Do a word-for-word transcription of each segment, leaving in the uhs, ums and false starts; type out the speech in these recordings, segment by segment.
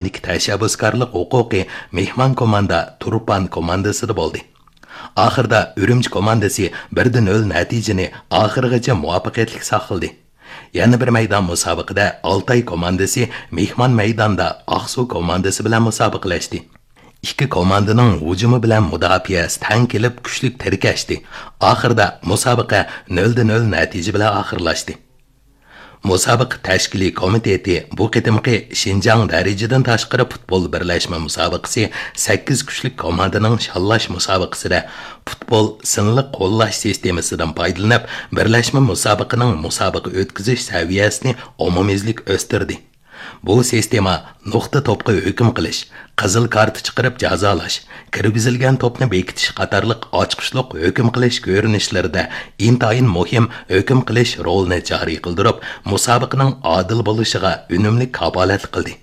تەشەببۇسكارلىق ھوقۇقى مېھمان كوماندا تۇرپان كوماندىسىدا بولدى. ئاخىردا ئۈرۈمچى كوماندىسى بىر دە نۆل نەتىجىنى ئاخىرغىچە مۇۋەپپەقىيەتلىك ساقلىدى. يەنە بىر مەيدان مۇسابىقىدە ئالتاي كوماندىسى مېھمان مەيداندا ئاقسۇ كوماندىسى بىلەن مۇسابىقىلەشتى. ئىككى كوماندىنىڭ ھۇجۇمى بىلەن مۇداپىئەسى تەڭ كېلىپ كۈچلۈك تىركەشتى. ئاخىردا مۇسابىقە نۆل دە نۆل نەتىجە بىلەن ئاخىرلاشتى. مۇسابىقە تەشكىلىي كومىتېتى بۇ قېتىمقى شىنجاڭ دەرىجىدىن تاشقىرى پۇتبول بىرلەشمە مۇسابىقىسى سەككىز كۈچلۈك كوماندىنىڭ شاللاش مۇسابىقىسىدە پۇتبول سىنلىق قوللاش سىستېمىسىدىن پايدىلىنىپ، بىرلەشمە مۇسابىقىنىڭ مۇسابىقە ئۆتكۈزۈش سەۋىيەسىنى ئومۇميۈزلۈك ئۆستۈردى. بۇ سىستېما نۇقتا توپقا ھۆكۈم قىلىش، قىزىل كارتا چىقىرىپ جازالاش، كىرگۈزۈلگەن توپنى بېكىتىش قاتارلىق ئاچقۇچلۇق ھۆكۈم قىلىش كۆرۈنۈشلىرىدە ئىنتايىن مۇھىم ھۆكۈم قىلىش رولىنى جارى قىلدۇرۇپ، مۇسابىقىنىڭ ئادىل بولۇشىغا ئۈنۈملۈك كاپالەتلىك قىلدى.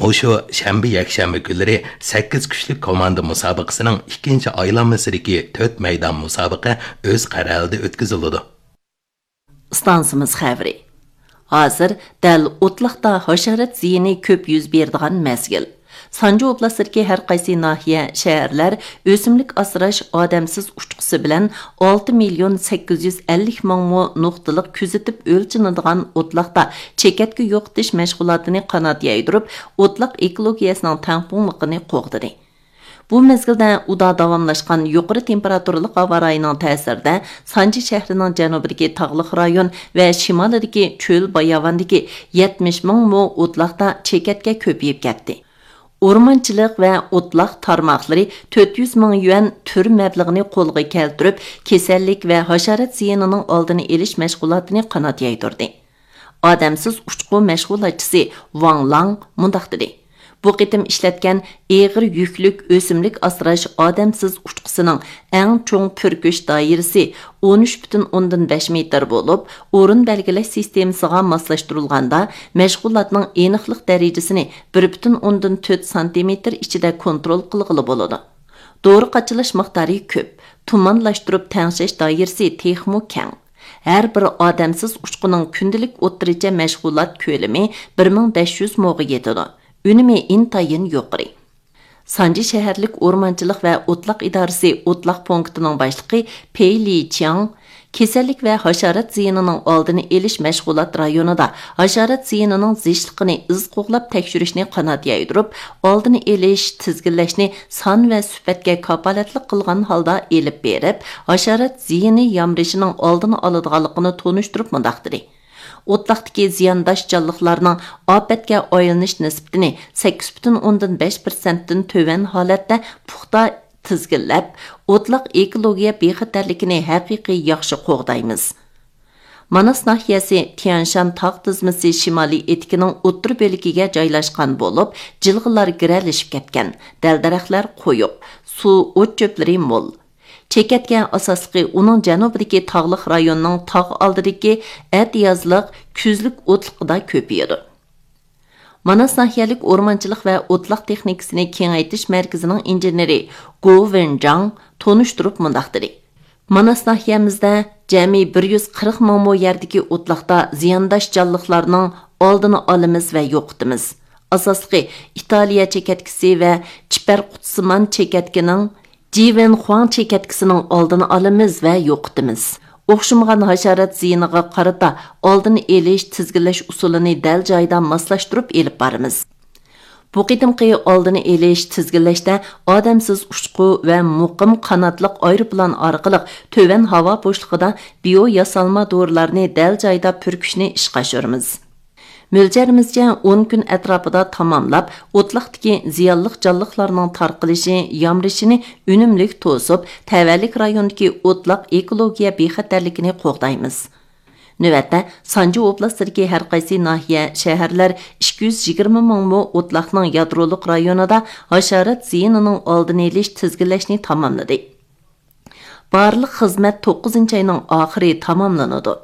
مۇشۇ شەنبە، يەكشەنبە كۈنلىرى سەككىز كۈچلۈك كوماندا مۇسابىقىسىنىڭ ئىككىنچى ئايلانمىسىدىكى تۆت مەيدان مۇسابىقە ئۆز قەرەلىدە ئۆتكۈزۈلىدۇ. ئىستانسىمىز خەۋىرى. ھازىر دەل ئوتلاقتا ھاشارات زىيىنى كۆپ يۈز بېرىدىغان مەزگىل. سانجى ئوبلاستىدىكى ھەر قايسى ناھىيە، شەھەرلەر ئۆسۈملۈك ئاسراش ئادەمسىز ئۇچقۇسى بىلەن ئالتە مىليون سەككىز يۈز ئەللىك مىڭ مو نۇقتىلىق كۆزىتىپ ئۆلچىنىدىغان ئوتلاقتا چېكەتكە يوقىتىش مەشغۇلاتىنى قانات يايدۇرۇپ، ئوتلاق ئېكولوگىيەسىنىڭ تەڭپۇڭلۇقىنى قوغدىدى. بۇ مەزگىلدە ئۇدا داۋاملاشقان يۇقىرى تېمپېراتۇرىلىق ھاۋا رايىنىڭ تەسىرىدە، سانجى شەھىرىنىڭ جەنۇبىدىكى تاغلىق رايون ۋە شىمالىدىكى چۆل باياۋاندىكى يەتمىش مىڭ مو ئوتلاقتا چېكەتكە كۆپىيىپ كەتتى. ئورمانچىلىق ۋە ئوتلاق تارماقلىرى تۆت يۈز مىڭ يۈەن تۈر مەبلىغىنى قولغا كەلتۈرۈپ، كېسەللىك ۋە ھاشارات زىيىنىنىڭ ئالدىنى ئېلىش مەشغۇلاتىنى قانات يايدۇردى. ئادەمسىز ئۇچقۇ مەشغۇلاتچىسى ۋاڭ لاڭ مۇنداق دېدى: بۇ قېتىم ئىشلەتكەن ئېغىر يۈكلۈك ئۆسۈملۈك ئاسراش ئادەمسىز ئۇچقۇسىنىڭ ئەڭ چوڭ پۈركۈش دائىرىسى ئون ئۈچ پۈتۈن ئوندىن بەش مېتىر بولۇپ، ئورۇن بەلگىلەش سىستېمىسىغا ماسلاشتۇرۇلغاندا، مەشغۇلاتنىڭ ئېنىقلىق دەرىجىسىنى بىر پۈتۈن ئوندىن تۆت سانتىمېتىر ئىچىدە كونترول قىلغىلى بولىدۇ. دورا قاچىلاش مىقدارى كۆپ، تۇمانلاشتۇرۇپ تەڭشەش دائىرىسى تېخىمۇ كەڭ. ھەر بىر ئادەمسىز ئۇچقۇنىڭ كۈندىلىك ئوتتۇرىچە مەشغۇلات كۆلىمى بىر مىڭ بەش يۈز موغا يېتىدۇ. ئۈنۈمى ئىنتايىن يۇقىرى. سانجى شەھەرلىك ئورمانچىلىق ۋە ئوتلاق ئىدارىسى ئوتلاق پونكىتىنىڭ باشلىقى پېي لىچياڭ كېسەللىك ۋە ھاشارات زىيىنىنىڭ ئالدىنى ئېلىش مەشغۇلات رايونىدا ھاشارات زىيىنىنىڭ زىچلىقىنى ئىز قوغلاپ تەكشۈرۈشنى قانات يايدۇرۇپ، ئالدىنى ئېلىش، تىزگىنلەشنى سان ۋە سۈپەتكە كاپالەتلىك قىلغان ھالدا ئېلىپ بېرىپ، ھاشارات زىيىنى يامرىشىنىڭ ئالدىنى ئالىدىغانلىقىنى تونۇشتۇرۇپ مۇنداق دېدى: ئوتلاقتىكى زىيانداش جانلىقلارنىڭ ئاپەتكە ئايلىنىش نىسبىتىنى سەككىز پۈتۈن ئوندىن بەش پىرسەنتتىن تۆۋەن ھالەتتە پۇختا تىزگىنلەپ، ئوتلاق ئېكولوگىيە بىخەتەرلىكىنى ھەقىقىي ياخشى قوغدايمىز. ماناس ناھىيەسى تيەنشان تاغ تىزمىسى شىمالىي ئېتىكىنىڭ ئوتتۇرا بۆلىكىگە جايلاشقان بولۇپ، جىلغىلار گىرەلىشىپ كەتكەن، دەل-دەرەخلەر قويۇق، سۇ، ئوت چۆپلىرى مول. چېكەتكە ئاساسلىقى ئۇنىڭ جەنۇبىدىكى تاغلىق رايوننىڭ تاغ ئالدىدىكى ئەتىيازلىق، كۈزلۈك ئوتلىقىدا كۆپىيىدۇ. ماناس ناھىيەلىك ئورمانچىلىق ۋە ئوتلاق تېخنىكىسىنى كېڭەيتىش مەركىزىنىڭ ئىنژېنېرى گو ۋېنجاڭ تونۇشتۇرۇپ مۇنداق دېدى: ماناس ناھىيەمىزدە جەمئىي بىر يۈز قىرىق مىڭ مو يەردىكى ئوتلاقتا زىيانداش جانلىقلارنىڭ ئالدىنى ئالىمىز ۋە يوقىتىمىز. ئاساسلىقى ئىتالىيە چېكەتكىسى ۋە چىپەر قۇتىسىمان چېكەتكىنىڭ، جىۋېنخۇاڭ چېكەتكىسىنىڭ ئالدىنى ئالىمىز ۋە يوقىتىمىز. ئوخشىمىغان ھاشارات زىيىنىغا قارىتا ئالدىنى ئېلىش، تىزگىنلەش ئۇسۇلىنى دەل جايىدا ماسلاشتۇرۇپ ئېلىپ بارىمىز. بۇ قېتىمقى ئالدىنى ئېلىش، تىزگىنلەشتە ئادەمسىز ئۇچقۇ ۋە مۇقىم قاناتلىق ئايروپىلان ئارقىلىق تۆۋەن ھاۋا بوشلۇقىدا بىيو ياسالما دورىلارنى دەل جايىدا پۈركۈشنى ئىشقا ئاشۇرىمىز. مۆلچەرىمىزچە، ئون كۈن ئەتراپىدا تاماملاپ، ئوتلاقتىكى زىيانلىق جانلىقلارنىڭ تارقىلىشى، يامرىشىنى ئۈنۈملۈك توسۇپ، تەۋەلىك رايوندىكى ئوتلاق ئېكولوگىيە بىخەتەرلىكىنى قوغدايمىز. نۆۋەتتە، سانجى ئوبلاستىدىكى ھەر قايسى ناھىيە، شەھەرلەر ئىككى يۈز يىگىرمە مىڭ مو ئوتلاقنىڭ يادرولۇق رايونىدا ھاشارات زىيىنىنىڭ ئالدىنى ئېلىش، تىزگىنلەشنى تاماملىدى. بارلىق خىزمەت توققۇزىنچى ئاينىڭ ئاخىرى تاماملىنىدۇ.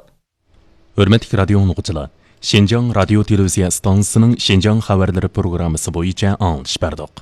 ھۆرمەتلىك رادىيو ئاڭلىغۇچىلار، شىنجاڭ رادىيو تېلېۋىزىيە ئىستانسىسىنىڭ شىنجاڭ خەۋەرلىرى پروگراممىسى بويىچە ئاڭلىتىش بەردۇق.